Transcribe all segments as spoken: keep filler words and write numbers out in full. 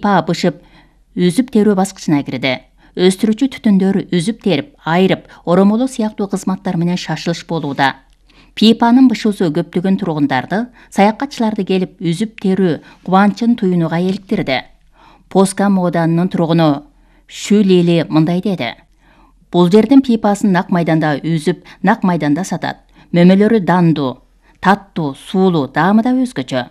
Па бышып, үзүп терүү баскычына кирди. Өстүрүүчү түтүндөр үзүп терип, айрып, оромолоо сыяктуу кызматтар менен шашылыш болууда. Пипанын бышуусу көптөгөн тургундарды, саякатчыларды келип үзүп терүү кубанычын туюнууга эликтирди. Поска мооданынын тургуну Шүлели мындай деди. Бул жердин пипасын нак майданда үзүп, нак майданда сатат. Мөмөлөрү дандуу, таттуу, суулуу, даамы да өзгөчө.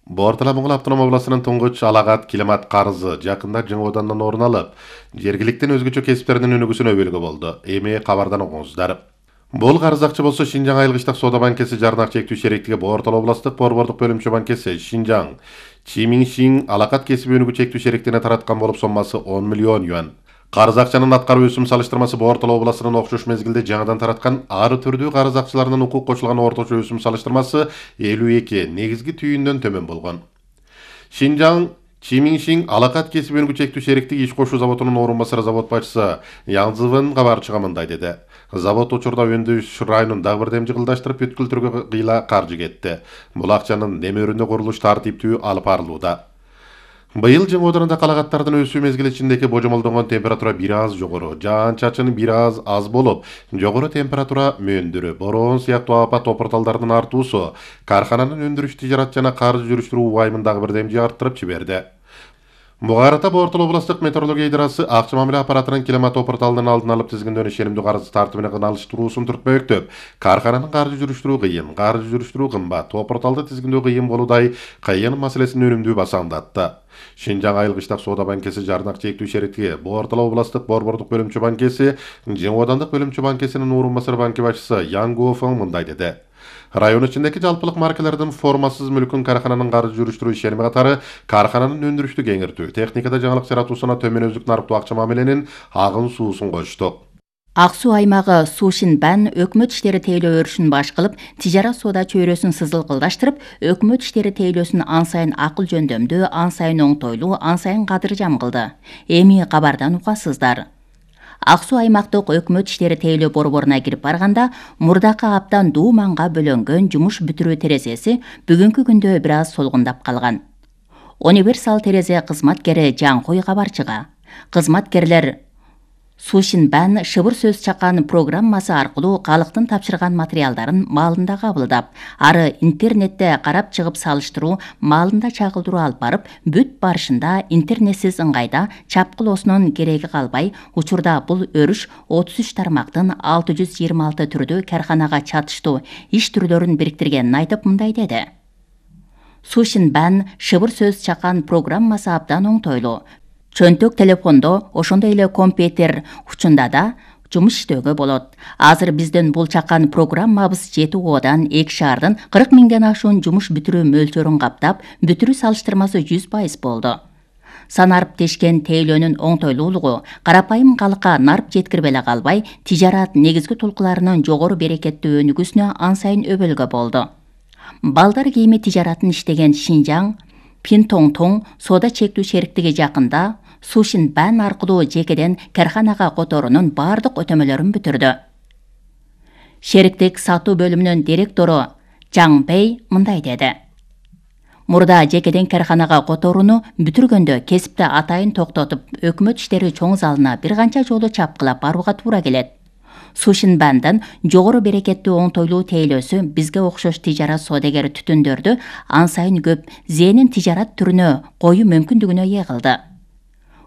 Бортала Моңгол автономия областынын туңгуч Алагат Килимат карызы жакында Жаңы Аудандан орун алып, жергиликтин өзгөчө кесиптеринин өнүгүүсүнө өбөлгө болду. Эми кабардан окуңуздар. Бул карыз акча болсо Шинжаң айылгычтык соода банкеси жарнак чектүү шериктиги Бортала областык борбордук бөлүмчө банкеси Шинжаң Чимиңшиң Алакат кесип өнүгүү чектүү шериктигине тараткан болуп, соммасы он миллион юан. Карыз акчанын аткаруу өсүм салыштырмасы Бортала областынын окшош мезгилде жаңыдан тараткан ары түрдүү карыз акчаларынын укук кошулган орточо өсүм салыштырмасы элүү эки негизги түйүндөн төмөн болгон. Шинжаң Чимиңшиң Алакат кесип өнүгүү чектүү шериктиги иш кошуу заводунун орун басары завод башчысы Янзывын кабарчыга мындай деди. Завод учурда өндүрүш районун дагы бир демжи кылдаштырып бүткүлтүргө кыйла каржы кетти. Бул акчанын немерүндө курулуш тартиптүү алып барылууда. Быйыл Жаңы Ауданында калагаттардын өсүү мезгили ичиндеги божомолдонгон температура бир аз жогору, жаан-чачын бир аз аз болуп, жогору температура мөндүрү, бороон сыяктуу апат топурталдардын артуусу кархананын өндүрүш, тижарат жана каржы жүрүштүрүү убайымын дагы бир демжи арттырып жиберди. Буга карата Бортала областык метеорология идарасы акча мамиле аппаратынын Килимат топурталдын алдын алып тизгиндөө ишенимдүү карыз тартибине кыналыштыруусун түртпөктөп, кархананын каржы жүрүштүрүү кыйын, каржы жүрүштүрүү кымбат, топурталды тизгиндөө кыйын болуудай кыйын маселесин өнүмдүү басаңдатты. Шинжаң айылгычтык соода банкеси жарнак чектүү шериктиги Бортала областык борбордук бөлүмчө банкеси Жаңы Аудандык бөлүмчө банкесинин орун басары банки башчысы Янгофон мындай деди. Район ичиндеги жалпылык маркалардын формасыз мүлкүн кархананын каржы жүрүштүрүү ишеними катары кархананын өндүрүштү кеңиртүү, техникада жаңылык жаратуусуна төмөнөздүк нарыктуу акча мамиленин агын суусун коштук. Ак суу аймагы Сушинбан өкмөт иштери тейлөө өрүшүн баш кылып, тижарат соода чөйрөсүн сызылкылдаштырып, өкмөт иштери тейлөөсүн ан сайын акыл жөндөмдүү, ан сайын оңтойлуу, ан сайын кадыржам кылды. Эми кабардан угасыздар. Ак суу аймактык өкмөт иштери тейлөө борборуна кирип барганда, мурдакы абдан дууманга бөлөнгөн жумуш бүтүрүү терезеси бүгүнкү күндө бир аз солгундап калган. Универсал терезе кызматкери Жаңкой кабарчыга. Кызматкерлер Сушинбан шыбыр сөз чакан программасы аркылуу калктын тапшырган материалдарын маалында кабылдап, ары интернетте карап чыгып салыштыруу, маалында чагылдыруу алып барып, бүт барышында интернетсиз ыңгайда чапкылоосунун кереги калбай, учурда бул өрүш отуз үч тармактын алты жүз жыйырма алты түрдүү карханага чатыштуу иш түрлөрүн бириктиргенин айтып мындай деди. Сушинбан шыбыр сөз чакан программасы абдан оңтойлуу. Чөнтөк телефондо, ошондой эле компьютер учунда да жумуш иштөөгө болот. Азыр биздин бул чакан программабыз жети оодан эки шаардын кырк миңден ашуун жумуш бүтүрүү мөлчөрүн каптап, бүтүрүү салыштырмасы жүз пайыз болду. Санарып тешкен тейлөөнүн оңтойлуулугу карапайым калкка нарп жеткирбей эле калбай, тижарат негизги тулкуларынын жогору берекеттүү өнүгүүсүнө ан сайын өбөлгө болду. Балдар кийими тижаратын иштеген Шинжаң Пинтоңтоң соода чектүү шериктиги жакында Сушинбан аркылуу жекеден карханага которунун бардык өтөмөлөрүн бүтүрдү. Шериктик сатуу бөлүмүнүн директору Жаң Бэй мындай деди. Мурда жекеден карханага которууну бүтүргөндө кесипти атайын токтотуп, өкмөт иштери чоң залына бир канча жолу чапкылап барууга туура келет. Сушинбандан жогору берекеттүү оңтойлуу тейлөөсү бизге окшош тижарат соодагер түтүндөрдү ан сайын көп зээнин тижарат түрүнө коюу мүмкүндүгүнө ээ кылды.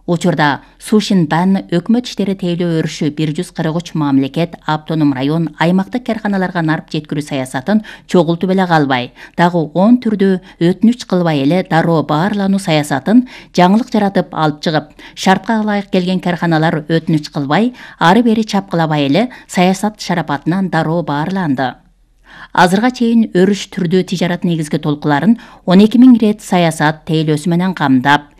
Учурда Сушинбан өкмөт иштери тейлөө өрүшү бир жүз кырк үч мамлекет, автоном район, аймактык карханаларга нарп жеткирүү саясатын чогултуп эле калбай, дагы он түрдүү өтүнүч кылбай эле дароо баарлануу саясатын жаңылык жаратып алып чыгып, шартка ылайык келген карханалар өтүнүч кылбай, ары бери чапкылабай эле саясат шарапатынан дароо баарланды. Азырга чейин өрүш түрдүү тижарат негизги толкуларын он эки миң рет саясат тейлөөсү менен камдап,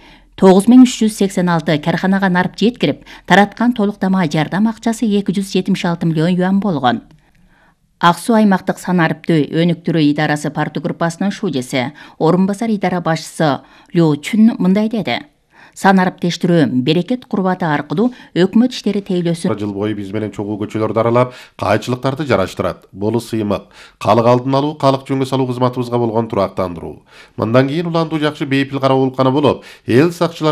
тогуз миң үч жүз сексен алты карханага нарп жеткирип, тараткан толуктама жардам акчасы эки жүз жетимиш алты миллион юан болгон. Ак суу аймактык санариптүү өнүктүрүү идарасы парту группасынын шужеси, орун басар идара башчысы Лю Чүн мындай деди. сан араптештирүү берекет курбаты аркылуу өкмөт иштери тейлөөсүн жыл бою биз менен чогуу көчөлөрдү аралап кайчылыктарды жараштырат. Бул сыймык калык алдын алуу, калык жөнгө салуу кызматыбызга болгон турактандыруу. Мындан кийин уландуу жакшы бейпил кароо улукканы болуп, эл сакчылары